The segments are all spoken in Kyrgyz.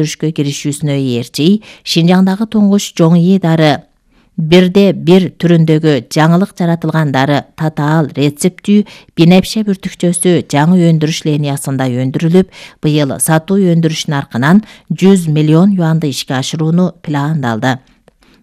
өндүрүшкө киришүүсүнө ээрчи Шинжаңдагы туңгуч жоңий дары 1/1 түрүндөгү жаңылык жаратылган дары татаал рецептүү бинепше бүртүкчөсү жаңы өндүрүш линиясында өндүрүлүп, быйыл сатуу өндүрүш наркынан 100 миллион юанды ишке ашырууну пландалды.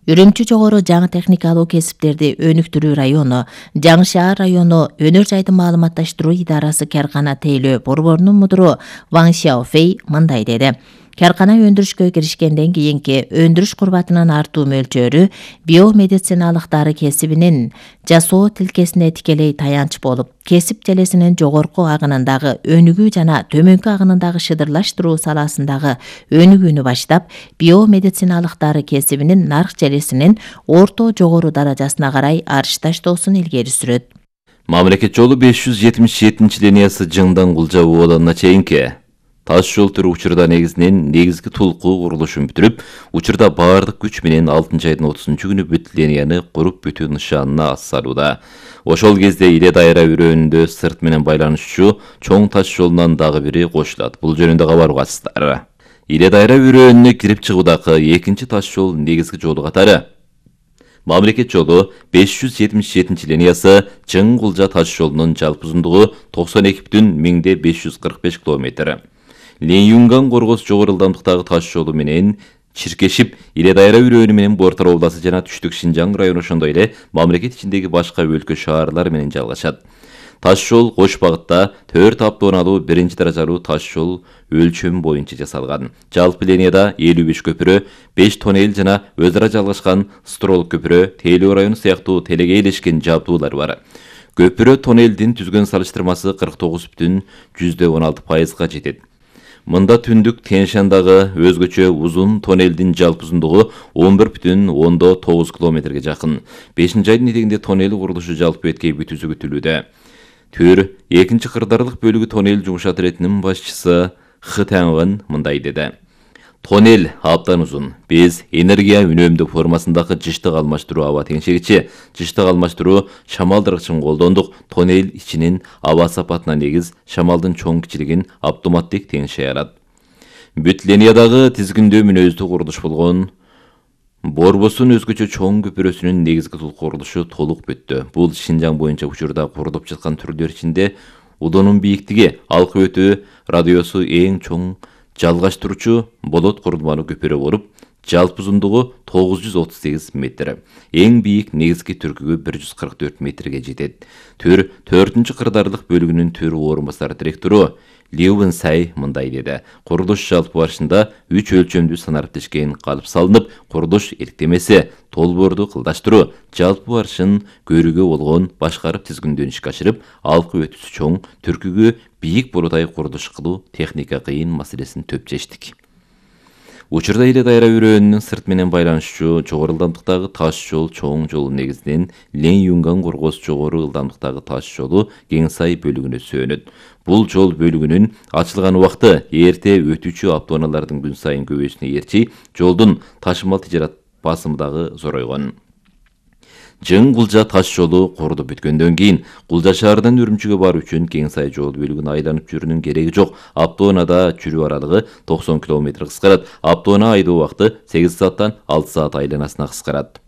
Үрүмчү жогору жаңы техникалуу кесиптерди өнүктүрүү району, Жаңы шаар району өнөр жайдын маалыматташтыруу идарасы Каркана тейлөө борборунун мудуру Ван Сяофэй мындай деди. Каркана өндүрүшкө киришкенден кийинки өндүрүш курбатынын артуу мөлчөрү биомедициналык дары кесибинин жасоо тилкесине тикелей таянч болуп, кесип желесинин жогорку агынындагы өнүгүү жана төмөнкү агынындагы шыдырлаштыруу саласындагы өнүгүүнү баштап, биомедициналык дары кесибинин нарк желесинин орто жогору даражасына карай арыш таштоосун илгери сүрөт. Мамлекет жолу 577 линиясы Жыңдан Кулжа ууланына чейинки таш жол түрү учурда негизги тулкуу курулушун бүтүрүп, учурда баардык күч менен 6 айдын 30-күнү бүт линияны куруп бүтүү нышанына ассалууда. Ошол кезде Иле дайра өрөөнүндө сырт менен байланышчу чоң таш жолунан дагы бири кошулат. Бул жөнүндө кабар угасыздар. Иле дайра өрөөнүнө кирип чыгуудагы экинчи таш жол негизги жолу катары Мамлекет жолу 577 линиясы Жың Кулжа таш жолунун жалпы узундугу 92,545 км. Ленюнган Коргос жогору ылдамдыктагы таш жолу менен чиркешип, Иле дайра өрөөнү менен Бортар областы жана Түштүк Шинжаң району ошондой эле мамлекет ичиндеги башка өлкө шаарлар менен жалгашат. Таш жол кош багытта 4 автоунаалуу 1-даражалуу таш жол өлчөмү боюнча жасалган. Жалпы линияда 55 көпүрө, 5 тоннель жана өз ара жалгашкан строл көпүрө, тейлөө району сыяктуу телегейлешкен жабдуулар бар. Көпүрө тоннелдин түзгөн салыштырмасы 49,16%га жетет. Мында түндүк Тянь-Шандагы өзгөчө узун тоннелдин жалпы узундугу 11,9 километрге жакын. 5-айдын этегинде тоннель курулушу жалпы беткей бүтүүсү күтүлүүдө. Түр 2-чи кырдаарлык бөлүгү тоннель жумушат иретинин башчысы Хы Таңгын мындай деди. Тоннель абдан узун. Биз энергия үнөмдүү формасындагы жыштык алмаштыруу аба теңшегичи, жыштык алмаштыруу шамалдыргычын колдондук. Тоннель ичинин аба сапатына негиз шамалдын чоң кичилигин автоматтык теңшей алат. Бүт линиядагы тизгиндөө мүнөздүү курулуш болгон Борбосун өзгөчө чоң көпүрөсүнүн негизги курулушу толук бүттү. Бул Шинжаң боюнча учурда курулуп жаткан түрлөр ичинде удунун бийиктиги, алкы өтүү радиусу эң чоң жалгаштыруучу болот курулмалуу көпүрө болуп, жалпы узундугу 938 метр. Эң бийик негизги түркүгү 144 метрге жетет. Түр 4-чү кырдаарлык бөлүгүнүн төр орун басар директору Леуэн Сай мындай деди. Курулуш жалпы барышында 3 өлчөмдүү санариптешкен калып салынып, курулуш иликтемеси, толборду кылдаштыруу, жалпы барышын көрүүгө болгон башкарып тизгиндөөүн ишке ашырып, алкы өтүүсү чоң, түркүгү бийик болотай курулуш кылуу техника кыйын маселесин төп чечтик. Учурда Иле дайра өрөөнүнүн сырт менен байланышчу жогору ылдамдыктагы таш жол чоң жолу негизинен Ленюнган Коргос жогору ылдамдыктагы таш жолу Кеңсай бөлүгүнө сөөнөт. Бул жол бөлүгүнүн ачылган убакыты эрте өтүүчү автоунаалардын күн сайын көбөйүүсүнө ээрчи жолдун ташымал тижарат басымы дагы зоройгон. Жың Кулжа таш жолу курулуп бүткөндөн кийин Кулжа шаарынан Үрүмчүгө баруу үчүн Кеңсай жол бөлүгүн айланып жүрүүнүн кереги жок. Автоунаада жүрүү аралыгы 90 км кыскарат. Автоунаа айдоо убакыты 8 сааттан 6 саат айланасына кыскарат.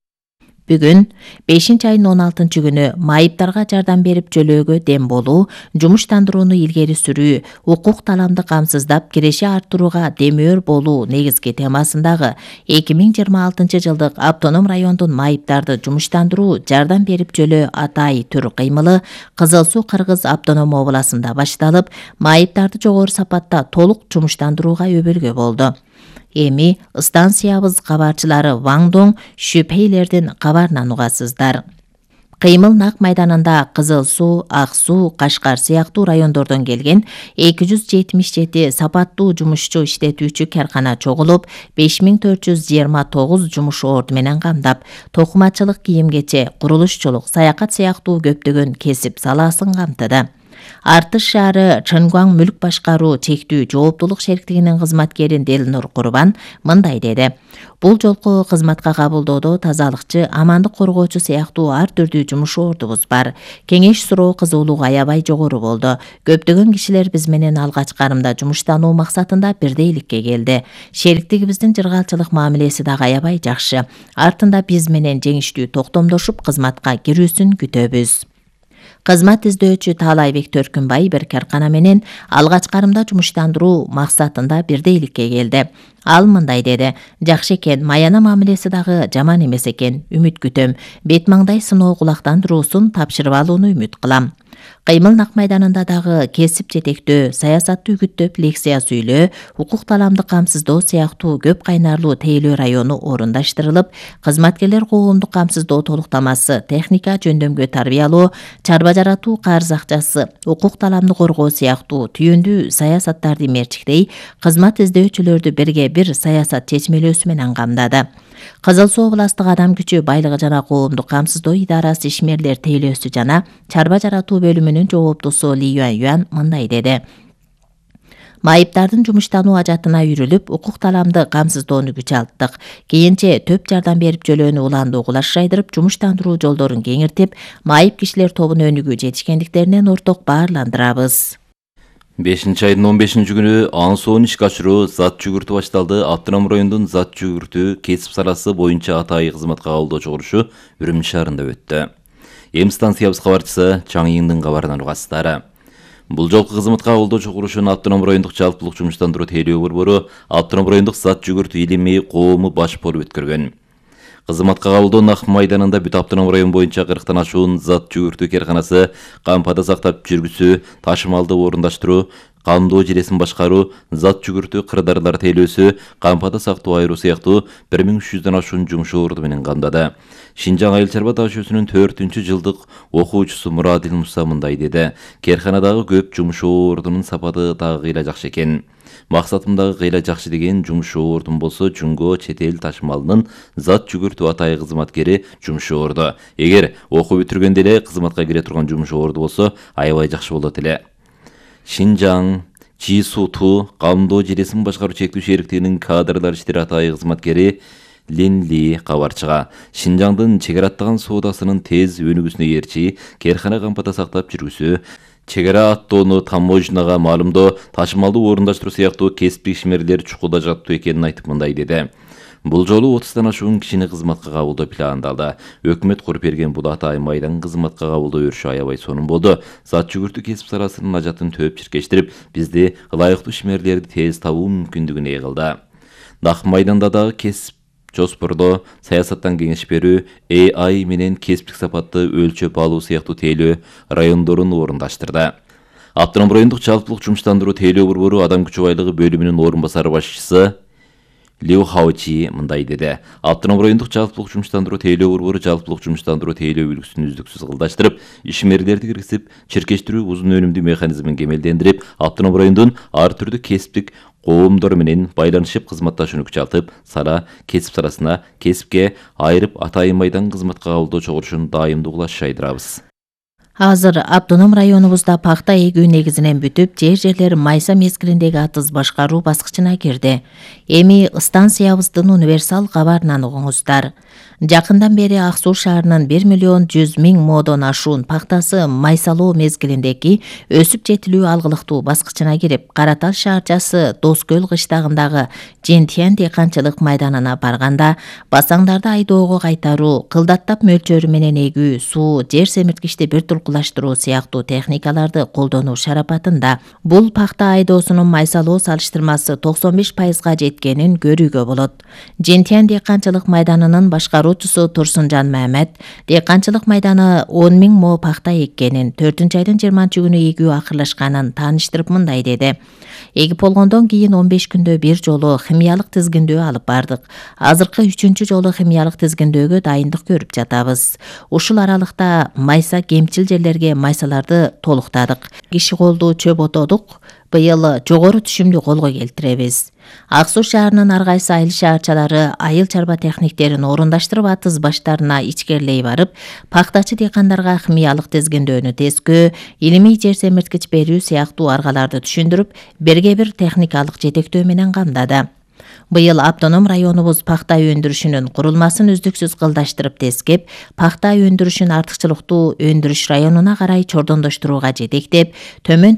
Бүгүн 5-айдын 16-күнү майыптарга жардам берип жөлөөгө дем болуу, жумуштандырууну илгери сүрүү, укук таламды камсыздап киреши арттырууга демөөр болуу негизги темасындагы 2026 жылдык автоном райондун майыптарды жумуштандыруу, жардам берип жөлөө атай түр кыймылы Кызыл Суу Кыргыз автоном областында башталып, майыптарды жогору сапатта толук жумуштандырууга өбөлгө болду. Эми станциябыз кабарчылары Ваңдоң шүпейлердин кабарынан угасыздар. Кыймыл нак майданында Кызыл Суу, Ак Суу, Кашкар сыяктуу райондордон келген 277 сапаттуу жумушчу иштетүүчү каркана чогулуп, 5429 жумуш орду менен камдап, токумачылык, кийим-кече, курулушчулук, саякат сыяктуу көптөгөн кесип саласын камтыды. Артыш шаары Чынгваң мүлк башкаруу чектүү жооптулук шериктигинин кызматкери Делнур Курбан мындай деди. Бул жолку кызматка кабылдоодо тазалыкчы, амандык коргоочу сыяктуу ар түрдүү жумуш ордубуз бар. Кеңеш суроо кызуулугу аябай жогору болду. Көптөгөн кишилер биз менен алгач карымда жумуштануу максатында бирдейликке келди. Шериктигибиздин жыргалчылык мамилеси дагы аябай жакшы. Артында биз менен жеңиштүү токтомдошуп кызматка кирүүсүн күтөбүз. Кызмат издөөчү Таалайбек Төркүнбай бир каркана менен алгач карымда жумуштандыруу максатында бирдейликке келди. Ал мындай деди: жакшы экен, маяна мамилеси дагы жаман эмес экен. Үмүт күтөм. Бет маңдай сыноо кулактандыруусун тапшырып алууну үмүт кылам. Кыймыл нак майданында дагы кесип жетектөө, саясатты үгүттөп лекция сүйлөө, укук таламды камсыздоо сыяктуу көп кайнарлуу тейлөө району орундаштырылып, кызматкерлер коомдук камсыздоо толуктамасы, техника жөндөмгө тарбиялоо, чарба жаратуу карыз акчасы, укук таламды коргоо сыяктуу түйүндүү саясаттарды мерчиктей, кызмат издөөчүлөрдү бирге бир саясат чечмелөөсү менен камдады. Кызыл Суу областык адам күчү байлыгы жана коомдук камсыздоо идарасы ишмерлер тейлөөсү жана чарба жаратуу бөлүмүнүн жооптусу Ли Юан мындай деди: майыптардын жумуштануу ажатына үйрүлүп, укук таламды камсыздоону күч алттык. Кийинче төп жардам берип жөлөөнү уланды угулаш жайдырып, жумуштандыруу жолдорун кеңиртип, майып кишилер тобун өнүгүү жетишкендиктеринен орток баарландырабыз. 5-айдын 15-күнү аң суун ишке ашыруу зат жүгүртүү башталды. Автоном райондун зат жүгүртүү кесип саласы боюнча атайы кызматка кабылдоо чогулушу Үрүмчү шаарында өттү. Эм станциябыз кабарчысы Чаңйыңдын кабарынан угасыздар. Бул жолку кызматка кабылдоо чогулушун Автоном райондук жалпылык жумуштандыруу тейлөө борбору, Автоном райондук зат жүгүртүү илими коому баш болуп өткөргөн. Кызматка кабылдоо нак майданында бүт Автоном район боюнча 40тан ашуун зат жүгүртүү карканасы, кампада сактап жүргүзүү, ташымалды орундаштыруу, камдоо жиресин башкаруу, зат жүгүртүү кырдаарлар тейлөөсү, кампада сактоо айыруу сыяктуу 1300дөн ашуун жумуш орду менен камдады. Шинжаң айыл чарба дашүүсүнүн 4-жылдык окуучусу Мурадил Муса мындай деди: керканадагы көп жумуш ордунун сапаты дагы кыйла жакшы экен. Максатым дагы кыйла жакшы деген жумуш ордун болсо, жөнгө чет эл ташымалынын зат жүгүртүү атайы кызматкери жумуш орду. Эгер окуу бүтүргөндө эле кызматка кире турган жумуш орду болсо, аябай жакшы болот эле. Шинжаң Жисуту камдоо жиресин башкаруу чектүү шериктигинин кадрлар иштери атайы кызматкери Линли кабарчыга Шинжаңдын чегара аттаган соодасынын тез өнүгүүсүнө ээрчи керкана кампада сактап жүргүзүү, чегара аттоону таможняга маалымдоо, ташымалды орундаштыруу сыяктуу кесиптик ишмерлер чукулда жаттуу экенин айтып мындай деди: бул жолу 30тан ашуун кишини кызматка кабылдоо пландалды. Өкмөт куруп берген бул атайы майдан кызматка кабылдоо өрүшү аябай сонун болду. Зат жүгүртүү кесип саласынын ажатын төп чиркештирип, бизди ылайыктуу ишмерлерди тез табуу мүмкүндүгүнө ээ кылды. Нак майданда дагы кесип жоспордоо, саясаттан кеңеш берүү, AI менен кесиптик сапатты өлчөп алуу сыяктуу тейлөө райондорун орундаштырды. Автоном райондук жалпылык жумуштандыруу тейлөө борбору адам күчү байлыгы бөлүмүнүн орун басары башчысы Лиу Хаочи мындай деди: Автоном райондук жалпылык жумуштандыруу тейлөө борбору жалпылык жумуштандыруу тейлөө үлгүсүн үздүксүз кылдаштырып, ишмерлерди киргизип, чиркештирүү узун өнүмдүү механизмин кемелдендирип, автоном райондун ар түрдүү кесиптик коомдор менен байланышып кызматташууну күчалтып, сара кесип саласына кесипке айырып атайын майдан кызматка кабылдоо чогулушун дайымдуу кылаш жайдырабыз. Азыр автоном районубузда пахта эгүү негизинен бүтүп, жерлер майса мезгилиндеги атыз башкаруу баскычына кирди. Эми станциябыздын универсал кабарынан угуңуздар. Жакындан бери Ак Суу шаарынын 1.100.000 модон ашуун пахтасы майсалоо мезгилиндеги өсүп жетилүү алгылыктуу баскычына кирип, Каратал шаарчасы Доскөл кыштагындагы Жентиян дыйканчылык майданына барганда, басаңдарды айдоого кайтаруу, кылдаттап мөлчөрү менен эгүү, суу, жер семирткичти бир туркулаштыруу сыяктуу техникаларды колдонуу шарапатында бул пахта айдоосунун майсалоо салыштырмасы 95%га жеткенин көрүүгө болот. Жентиян дыйканчылык майданынын башкаруучусу Турсунжан Мамед дыйканчылык майданы 10.000 мо пахта эккенин, 4-айдын 20-күнү эгүү акырлашканын тааныштырып мындай деди: эгип болгондон кийин 15 күндө бир жолу химиялык тизгиндөө алып бардык. Азыркы 3-чү жолу химиялык тизгиндөөгө дайындык көрүп жатабыз. Ушул аралыкта майса кемчил жерлерге майсаларды толуктадык. Киши колдуу чөп отодук, Быйыл жогору түшүмдү колго келтиребиз. Ак Суу шаарынын ар кайсы айыл шаарчалары айыл чарба техниктерин орундаштырып атыз баштарына ичкерлей барып, пактачы дыйкандарга химиялык тезгендөөнү тескөө, илимий жер семирткич берүү сыяктуу аргаларды түшүндүрүп, берге бир техникалык жетектөө менен камдады. Быйыл автоном районубуз пакта өндүрүшүнүн курулмасын үздүксүз кылдаштырып тескеп, пакта өндүрүшүн артыкчылыктуу өндүрүш районуна карай чордондоштурууга жетектеп, төмөн